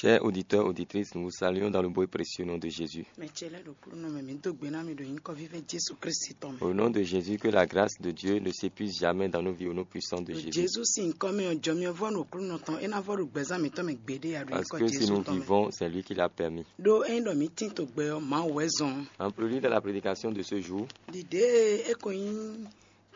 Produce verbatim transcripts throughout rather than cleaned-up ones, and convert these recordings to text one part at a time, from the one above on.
Chers auditeurs, auditrices, nous vous saluons dans le beau et précieux nom de Jésus. Mɛ ce lɛ́ɛ ɖo kúnɔ mɛ, mǐ dó gbe ná mi ɖo nyǐkɔ vívɛ́ Jezu Kristi tɔn mɛ. Au nom de Jésus, que la grâce de Dieu ne s'épuise jamais dans nos vies au nom puissant de Ɖo Jésus. Jezu sín nyǐkɔ mɛ ɔ́, jɔmyɔvɔ́ ɖo kúnɔ tɔn é ná vɔ ɖo gbɛzán mǐtɔn mɛ gbeɖé a ɖo Parce nyǐkɔ que si Jezu nous tɔn mɛ. Vivons, c'est lui qui l'a permis. Ɖó ényí ɖɔ mǐ tín to gbɛ ɔ́, Mawu wɛ zɔn. En prélude à la prédication de ce jour, Ɖiɖe e é ko nyí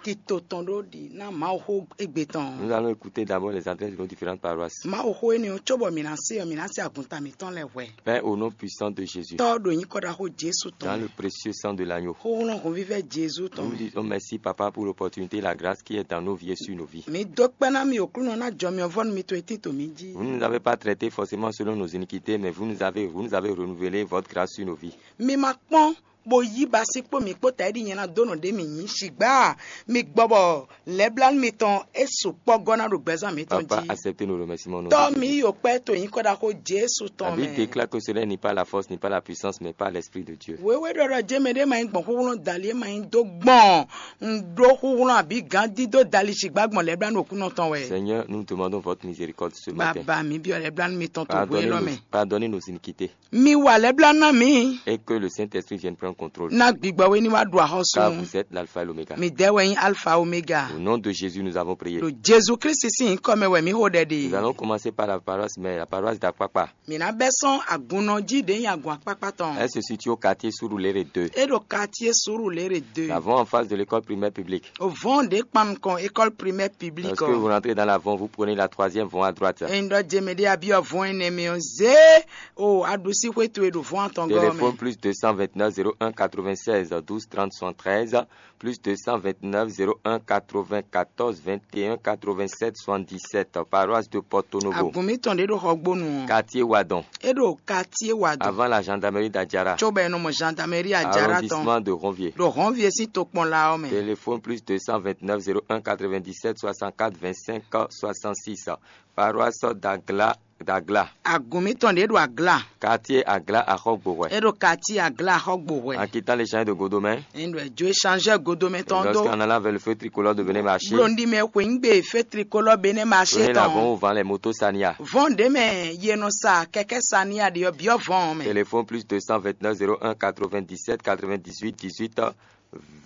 tito tɔn ɖó ɖi ná Mawuxó égbé tɔn. Nous allons écouter d'abord les adresses de nos différentes paroisses. Mawuxó énɛ́ ɔ́, cóbɔ mǐ ná se ɔ́, mǐ ná se agunta mǐtɔn lɛ́ɛ hwɛ. Père, au nom puissant de Jésus, Tɔ́ ɖo nyǐkɔ ɖaxó Jezu tɔn dans mɛ. Le Précieux sang de l'agneau, Xóxlɔ́n hɔnvívɛ́ Jezu nous tɔn vous mɛ. Disons merci, Papa, pour l'opportunité et la grâce qui est dans nos vies et sur nos vies. Mǐ dó kpɛ́ ná mi Aklúnɔ ná jɔ mi ɔ́ vɔ́ nú mi to e tín to mǐ jí. Vous ne nous avez pas traités forcément selon nos iniquités, mais vous nous avez, vous nous avez renouvelé votre grâce sur nos vies. Mi ma kpɔ́n bó yí ba sí kpó mǐ kpó taɖi nyɛ ná dó nɔ ɖě mǐ nyí. Sigbá mi gbɔ bɔ lɛblánú mitɔn é sukpɔ́ gɔ́ ná ɖo gbɛzán mǐtɔn Papa, jí. Acceptez nos remerciements au nom de Tɔ́ Jésus. Mi yi kpɛ́ to nyǐkɔ ɖaxó Jesu tɔn La Bible mɛ. Déclare que cela n'est pas la force, n'est pas la puissance, mais par l'Esprit de Dieu. Wěwé ɖɔɖɔ jɛ́n mɛ ɖé ma nyí gbɔn xúxlɔ́n dali é ma nyí dó gbɔn un ɖó xúxlɔ́n abǐ gǎn dídó dali sigbá gbɔn lɛblánú Aklúnɔ tɔn wɛ. Seigneur, nous demandons votre miséricorde ce matin. Baba mi byɔ́ lɛblánú mitɔn to hwé Pardonnez lɔ nos, mɛ. Pardonnez nos iniquités. Mi wa lɛblánú ná mi. Et que le Saint-Esprit vienne prendre contrôle. Ná gbigbɔ wé ní wá ɖu axɔ́sú. Car vous êtes l'alpha et l'oméga. Mi dɛ́ wɛ nyí alfa omega. Au nom de Jésus, nous avons prié. Ɖo Jezu Kristi sín nyǐkɔ mɛ wɛ mǐ xo ɖɛ ɖe. Nous allons commencer par la paroisse mère, la paroisse d'Akpakpa. Mǐ ná bɛ́ sɔ́n agunnɔ jí ɖě nyí agun akpákpá tɔn. Elle se situe au quartier Surulere deux. É ɖo quartier Surulere deux. Nous avons en face de l'école primaire publique. Vɔ̌n ɖě kpan nukɔn école primaire publique. Lorsque vous rentrez dans la Von, vous prenez la troisième Von à droite. Ényí ɖɔ jemɛ ɖé abyɔ vɔn énɛ́ mɛ ɔ́, zé o aɖusí xwé towe ɖo vɔn atɔn gɔ́ Téléphone mɛ. Plus deux cent vingt-neuf zéro un quatre-vingt-seize douze trente soixante-treize, plus deux cent vingt-neuf zéro un quatre-vingt-quatorze vingt et un quatre-vingt-sept soixante-dix-sept, paroisse de Porto Novo. Agun mitɔn ɖé ɖo Xɔgbónu ɔ́. Quartier Wadon. É ɖo quartier Wadon. Avant la gendarmerie d'Adjara. Cóbɔ è nɔ mɔ gendarmerie Adjara tɔn. Arrondissement de Ronvier. Ɖo Ronvier sín tokpɔn la ɔ́ mɛ. Téléphone plus deux cent vingt-neuf zéro un quatre-vingt-dix-sept soixante-quatre vingt-cinq soixante-six. Paroisse d'Agla, d'Agla. Agun mitɔn ɖě ɖo Agla. Quartier Agla Axɔgbohwɛ. É ɖo quartier Agla Axɔgbohwɛ. En quittant l'échange de Godomé. Ényí ɖɔ è jó échangeur Godomé tɔn dó. Lorsqu'en allant vers le feu tricolore de Bénin Marché. Blonɖi mɛ xweyígbe fé tricolore Bénin Marché tɔn. Prenez l'avant où vend les motos Sania. Vɔn ɖě mɛ yě nɔ sa kɛkɛ́ Sania ɖe ɔ́, byɔ́ vɔn ɔ́ mɛ. Téléphone plus deux cent vingt-neuf zéro un quatre-vingt-dix-sept quatre-vingt-dix-huit dix-huit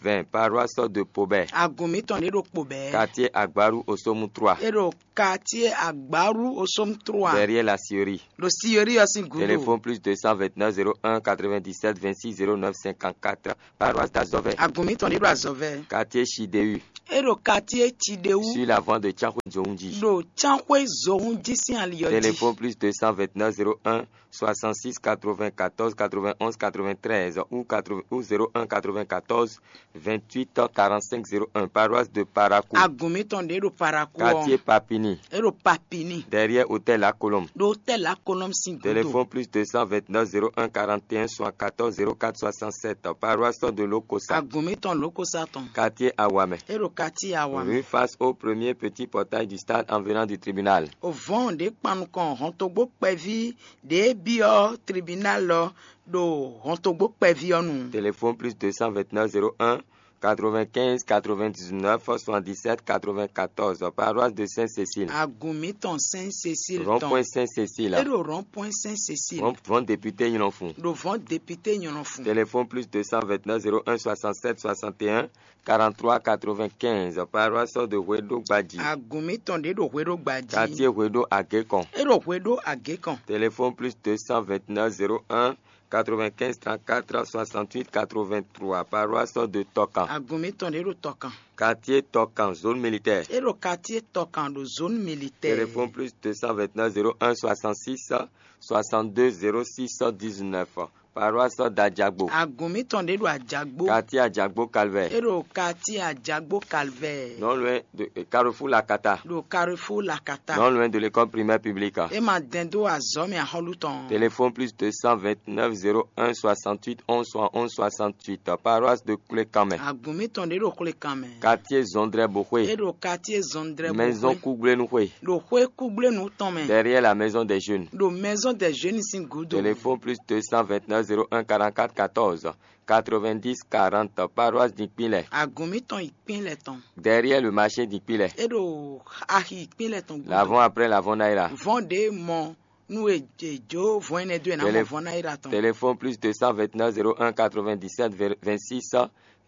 vingt, paroisse de Pobé. Agun mitɔn ɖě ɖo Pobé. Quartier Agbaru Osomu trois. É ɖo quartier Agbaru Osomu trois. Derrière la Siri. Ɖo Siri ɔ́ sín gǔdo. Téléphone plus deux cent vingt-neuf zéro un quatre-vingt-dix-sept vingt-six zéro neuf cinquante-quatre. Paroisse d'Azɔvɛ. Agun mitɔn ɖě ɖo Azɔvɛ. Quartier Chideu. É ɖo quartier Chideu. Sur la voie de Tsanxwé Zohunji. Ɖo Tsanxwé Zohunji sín ali ɔ́ jí. Téléphone plus deux cent vingt-neuf zéro un soixante-six quatre-vingt-quatorze quatre-vingt-onze quatre-vingt-treize ou quatre-vingts ou zéro un quatre-vingt-quatorze vingt-huit quarante-cinq zéro un, paroisse de Parakou. Agun mitɔn ɖě ɖo Parakou ɔ́. Quartier Papini. É ɖo Papini. Derrière hôtel La Colombe. Ɖo hôtel La Colombe sín gúdo. Téléphone plus deux cent vingt-neuf zéro un quarante et un soixante-quatorze zéro quatre soixante-sept, paroisse de Lokosa. Agun mitɔn Lokosa tɔn. Quartier Awamɛ. É ɖo quartier Awamɛ. Rue face au premier petit portail du stade en venant du tribunal. O vɔn ɖě kpan nukɔn hɔntogbó kpɛví ɖě byɔ́ tribunal ɔ́ ɖo hɔntogbó kpɛví ɔ́ nu. Téléphone plus deux cent vingt-neuf zéro un quatre-vingt-quinze quatre-vingt-dix-neuf soixante-dix-sept quatre-vingt-quatorze, paroisse de Sainte-Cécile. Agun mitɔn Sainte-Cécile tɔn. Rond-point Sainte-Cécile. É ɖo rond-point Sainte-Cécile. Rond-, rond député Nylonfou. Ɖo vɔn député Nylonfou. Téléphone plus deux cent vingt-neuf zéro un soixante-sept soixante et un quarante-trois quatre-vingt-quinze, paroisse de Hweɖo Gbadji. Agun mitɔn ɖě ɖo Hweɖo Gbadji. Quartier Hweɖo Agékɔn. É ɖo Hweɖo Agékɔn. Téléphone plus deux cent vingt-neuf zéro un quatre-vingt-quinze trente-quatre soixante-huit quatre-vingt-trois, paroisse de Tɔkan. Agun mitɔn ɖě ɖo Tɔkan. Quartier Tɔkan, zone militaire. É ɖo quartier Tɔkan ɖo zone militaire. Téléphone plus deux cent vingt-neuf zéro un soixante-six soixante-deux zéro six dix-neuf, paroisse d'Adjagbo. Agun mitɔn ɖě ɖo Adjagbo. Quartier Adjagbo Calvaire. É ɖo quartier Adjagbo Calvaire. Non loin de, euh, Carrefour Lakata. Ɖo Carrefour Lakata. Non loin de l'école primaire publique. É ma dɛn dó azɔ̌ mɛ axɔ́lú tɔn. Téléphone plus deux cent vingt-neuf zéro un soixante-huit onze soixante-onze soixante-huit, paroisse de Koulékanmɛ. Agun mitɔn ɖě ɖo Koulékanmɛ. Quartier Zondré Bohoué. É ɖo quartier Zondré Bohoué. Maison Kougblénouhoué. Ɖo xwé kúgblenu tɔn mɛ. Derrière la maison des jeunes. Ɖo maison des jeunes sín gúdo. Téléphone plus deux cent vingt-neuf zéro un quarante-quatre quatorze quatre-vingt-dix quarante, paroisse d'Ikpinlɛ. Agun mitɔn Ikpinlɛ tɔn. Derrière le marché d'Ikpinlɛ. É ɖo axi Ikpinlɛ tɔn gúdo. L'avant après l'avant Naira. Vɔn ɖě mɔ Nú è è jó vɔ̌n énɛ́ dó è nǎ mɔ Télé- vɔ̌n ná é ɖo atɔn. Téléphone plus deux cent vingt-neuf zéro un quatre-vingt-dix-sept vingt-six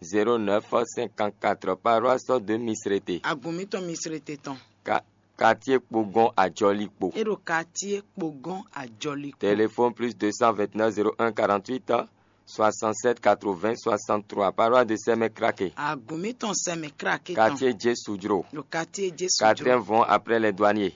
zéro neuf cinquante-quatre, paroisse de Misrete. Agun mǐtɔn Misrete tɔn. Ka- Quartier Kpogon Ajɔlikpo. É ɖo quartier Kpogon Ajɔlikpo. Téléphone plus deux cent vingt-neuf zéro un quarante-huit soixante-sept quatre-vingts soixante-trois, paroisse de Sɛmɛ Krake. Agun mǐtɔn Sɛmɛ Krake tɔn. Quartier Jesudro. Ɖo quartier Jesu. Quatrième vont après les douaniers.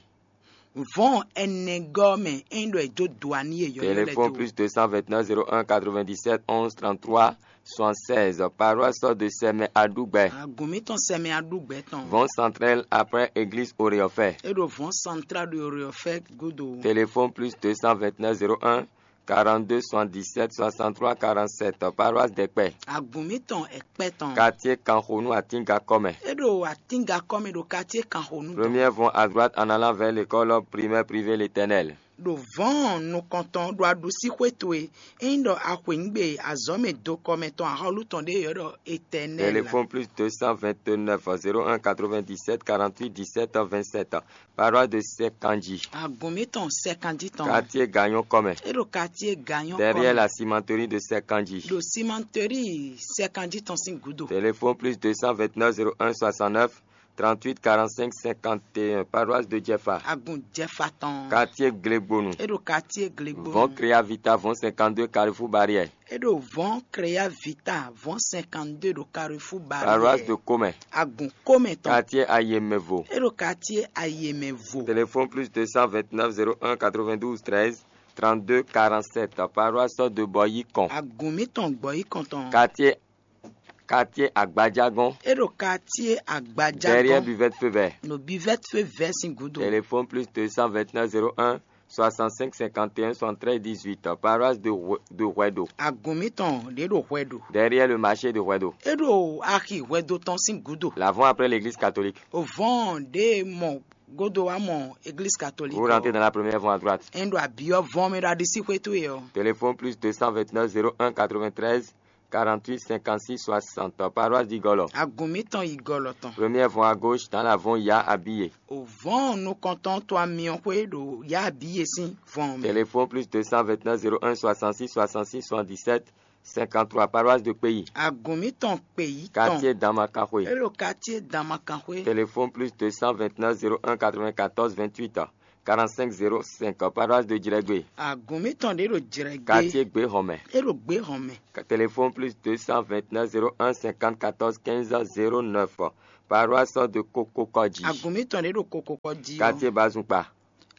Vɔn ɛnɛgɔ́ mɛ é ɖɔ è dó duani e yɔyɔ lɛ Téléphone dó. Plus deux cent vingt-neuf zéro un quatre-vingt-dix-sept onze trente-trois soixante-seize, paroisse de Sɛmɛ Aɖugbɛ. Agun mǐtɔn Sɛmɛ Aɖugbɛ tɔn. Vɔn central après église Oreofɛ. É ɖo vɔn central de Oreofɛ godo. Téléphone plus deux cent vingt-neuf zéro un quarante-deux soixante-dix-sept soixante-trois quarante-sept, paroisse Dɛkpɛ. Agun mǐtɔn Ɛkpɛ tɔn. Quartier Kanxonu Atingakɔmɛ. É ɖo Atingakɔmɛ ɖo quartier Kanxonu tɔn. Première vont à droite en allant vers l'école primaire privée L'Éternel. Ɖo vɔ̌n nukɔntɔn ɖo aɖusí xwé towe, ényí ɖɔ a xweyǐgbe azɔ̌ mɛ dokɔmɛ tɔn axɔ́lú tɔn ɖé yɔ̌ ɖɔ Étɛnɛ́li. Téléphone plus deux cent vingt-neuf zéro un quatre-vingt-dix-sept quarante-huit dix-sept vingt-sept, paroisse de Sɛkanji. Agun mǐtɔn Sɛkanji tɔn. Quartier Gagnon Kɔmɛ. É ɖo quartier Gagnon Derrière Kɔmɛ. La cimenterie de Sɛkanji. Ɖo cimenterie Sɛkanji tɔn sín gǔdo. Téléphone plus deux cent vingt-neuf zéro un soixante-neuf trente-huit quarante-cinq cinquante et un, paroisse de Jɛfa. Agun Jɛfa tɔn. Quartier Glegbonu. É ɖo quartier Glegbonu. Vɔn Créa Vita, vɔn cinquante-deux Carrefour Barrière. É ɖo vɔn Créa Vita, vɔn cinquante-deux ɖo Carrefour Barrière. Paroisse de Comɛ. Agun Comɛ tɔn. Quartier Ayemɛvo. É ɖo quartier Ayemɛvo. Téléphone plus deux cent vingt-neuf zéro un quatre-vingt-douze treize trente-deux quarante-sept, paroisse de Bɔyikɔn. Agun mǐtɔn Gbɔyikɔn tɔn. Quartier Quartier Agbadjagɔn. É ɖo quartier Agbadjagɔn. Derrière Buvette Feu Vert. Ɖo Buvette Feu Vert sín gúdo. Téléphone plus deux cent vingt-neuf zéro un soixante-cinq cinquante et un soixante-treize dix-huit, paroisse de Hue- de Huedo. Agun mǐtɔn ɖě ɖo Hwɛɖo. Derrière le marché de Huedo. É ɖo axi Hwɛdo tɔn sín gúdo. L'avant après l'église catholique. O vɔn ɖě mɔ godo wa mɔ église catholique. Vous rentrez dans la première vont à droite. Ɛn ɖo abiɔ vɔn mɛ ɖo aɖisí xwé towe ɔ. Téléphone plus deux cent vingt-neuf zéro un quatre-vingt-treize quarante-huit cinquante-six soixante, paroisse d'Igolo. Agun mǐtɔn yi gɔlɔ tɔn. Première vont à gauche, dans la vont Ya Abiye. O vɔn nukɔntɔn to amiɔ xwé ɖo Ya Abiye sín vɔn mɛ. Téléphone plus deux cent vingt-neuf zéro un soixante-six soixante-six soixante-dix-sept cinquante-trois, paroisse de Pays. Agun mǐtɔn kpe yi tɔn. Quartier Damakanxwe. É ɖo quartier Damakanxwe. Téléphone plus deux cent vingt-neuf zéro un quatre-vingt-quatorze vingt-huit quarante-cinq zéro cinq, paroisse de Djrɛgbe. Agun mǐtɔn ɖě ɖo Djrɛgbe. Quartier Gbehɔnmɛ. É ɖo Gbehɔnmɛ. Ka- Téléphone plus deux cent vingt-neuf zéro un cinquante quatorze quinze zéro neuf, paroisse de Kokokɔdji. Agun mǐtɔn ɖě ɖo Kokokɔdji. Quartier Bazunpa.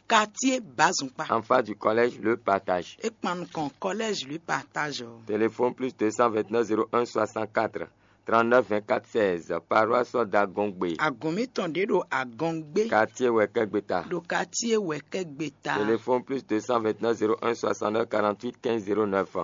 Quartier Bazunpa. En face du collège Le Partage. É kpan nukɔn collège Le Partage. Téléphone plus deux cent vingt-neuf zéro un soixante-quatre trente-neuf vingt-quatre seize, paroisse d'Agongbe. Agun mǐtɔn ɖě ɖo Agɔngbé. Quartier Wɛkɛgbeta. Ɖo quartier Wɛkɛgbeta. Téléphone plus deux cent vingt-neuf zéro un soixante-neuf quarante-huit quinze zéro neuf,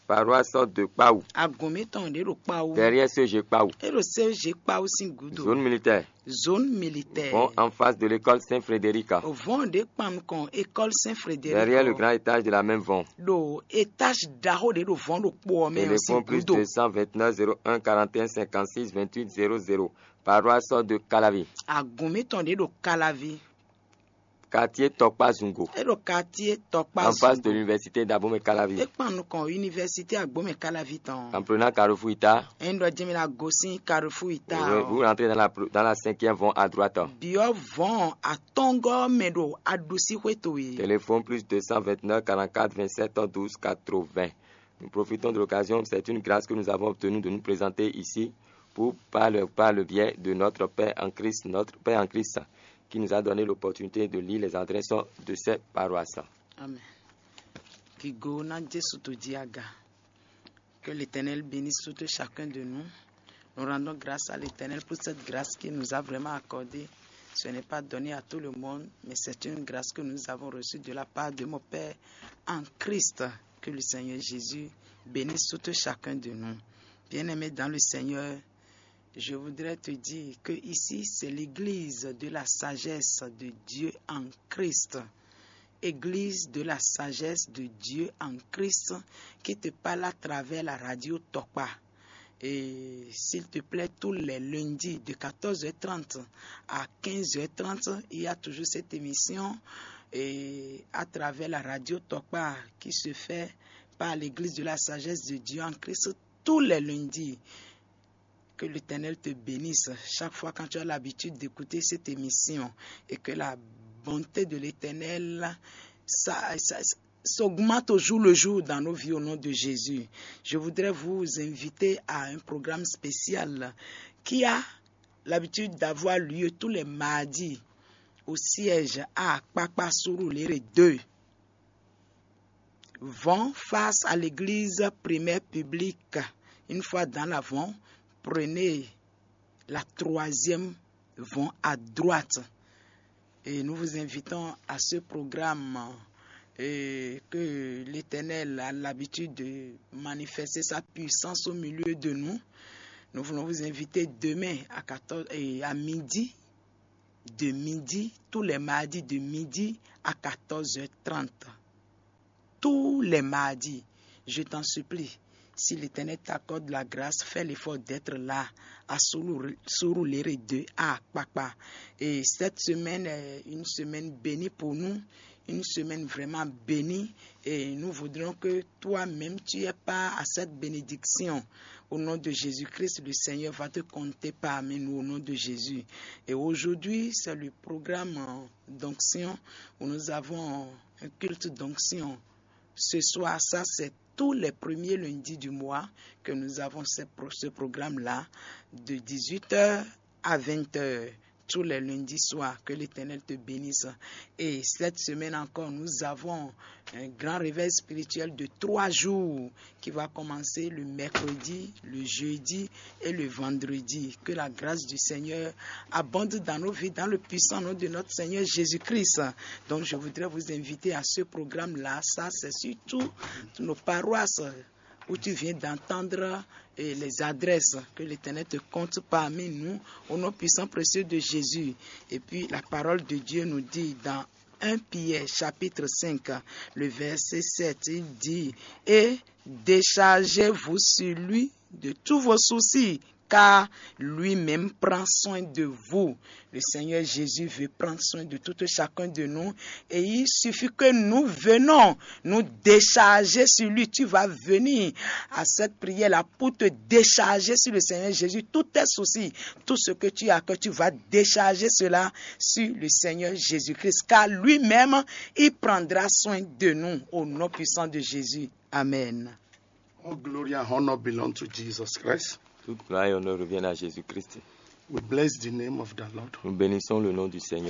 paroisse de Kpawu. Agun mǐtɔn ɖě ɖo Kpawu. Derrière C G Kpawu. É ɖo C G Kpawu sín gúdo. Zone militaire. Zone militaire. Vont en face de l'école Saint-Frédéric. O vɔn ɖě kpan nukɔn école Saint-Frédéric. Derrière le grand étage de la même vont. Ɖo étage ɖaxó ɖě ɖo vɔn ɖo kpo ɔ́ mɛ ɔ́ sín gúdo. Téléphone plus deux cent vingt-neuf zéro un quarante et un cinquante-six vingt-huit zéro zéro, paroisse de Kalavi. Agun mǐtɔn ɖě ɖo Kalavi. Quartier Tɔkpa Zungo. É ɖo quartier Tɔkpa Zungo. En face de l'université d'Abomey Kalavi. É kpan nukɔn université Agbomey Kalavi tɔn. En prenant Carrefour Ita. Ɛn ɖɔ jɛmɛ la gosin Carrefour Ita. Vous, vous rentrez dans la, dans la cinquième vont à droite. Biɔ vɔn atɔngɔ mɛ ɖo aɖusi xwé towe. Téléphone plus deux cent vingt-neuf quarante-quatre vingt-sept douze quatre-vingts. Nous profitons de l'occasion, c'est une grâce que nous avons obtenue de nous présenter ici pour, par le, par le biais de notre Père en Christ, notre Père en Christ, qui nous a donné l'opportunité de lire les adresses de ces paroisses. Amen. Kigo na Jesu to ji aga. Que l'Éternel bénisse tout et chacun de nous. Nous rendons grâce à l'Éternel pour cette grâce qu'il nous a vraiment accordée. Ce n'est pas donné à tout le monde, mais c'est une grâce que nous avons reçue de la part de mon Père en Christ. Que le Seigneur Jésus bénisse tout et chacun de nous. Bien-aimés dans le Seigneur, je voudrais te dire que ici, c'est l'église de la sagesse de Dieu en Christ. Église de la sagesse de Dieu en Christ qui te parle à travers la radio Tokpa. Et s'il te plaît, tous les lundis de quatorze heures trente à quinze heures trente, il y a toujours cette émission et à travers la radio Tokpa qui se fait par l'Église de la Sagesse de Dieu en Christ tous les lundis. Que l'Éternel te bénisse chaque fois quand tu as l'habitude d'écouter cette émission et que la bonté de l'Éternel ça, ça, s'augmente au jour le jour dans nos vies au nom de Jésus. Je voudrais vous inviter à un programme spécial qui a l'habitude d'avoir lieu tous les mardis au siège à Papa Surulere deux. Vont face à l'église primaire publique. Une fois dans l'avant, prenez la troisième vont à droite. Et nous vous invitons à ce programme et que l'Éternel a l'habitude de manifester sa puissance au milieu de nous. Nous voulons vous inviter demain à quatorze et à midi, de midi, tous les mardis de midi à quatorze heures trente. Tous les mardis, je t'en supplie, si l'Éternel t'accorde la grâce, fais l'effort d'être là à Surulere deux à Papa. Et cette semaine est une semaine bénie pour nous, une semaine vraiment bénie. Et nous voudrions que toi-même, tu aies part à cette bénédiction. Au nom de Jésus-Christ, le Seigneur va te compter parmi nous au nom de Jésus. Et aujourd'hui, c'est le programme d'onction où nous avons un culte d'onction. Ce soir, ça c'est tous les premiers lundis du mois que nous avons ce programme-là de dix-huit heures à vingt heures tous les lundis soirs. Que l'Éternel te bénisse. Et cette semaine encore, nous avons un grand réveil spirituel de trois jours qui va commencer le mercredi, le jeudi et le vendredi. Que la grâce du Seigneur abonde dans nos vies, dans le puissant nom de notre Seigneur Jésus-Christ. Donc, je voudrais vous inviter à ce programme-là. Ça, c'est surtout nos paroisses où tu viens d'entendre et les adresses que l'Éternel te compte parmi nous, au nom puissant précieux de Jésus. Et puis la parole de Dieu nous dit dans un Pierre chapitre cinq, le verset sept, il dit, et déchargez-vous sur lui de tous vos soucis, car lui-même prend soin de vous. Le Seigneur Jésus veut prendre soin de tout chacun de nous et il suffit que nous venons nous décharger sur lui. Tu vas venir à cette prière-là pour te décharger sur le Seigneur Jésus, tous tes soucis, tout ce que tu as, que tu vas décharger cela sur le Seigneur Jésus-Christ, car lui-même, il prendra soin de nous au nom puissant de Jésus. Amen. All glory and honor belong to Jesus Christ. Toute gloire et honneur reviennent à Jésus-Christ. We bless the name of the Lord. Nous bénissons le nom du Seigneur.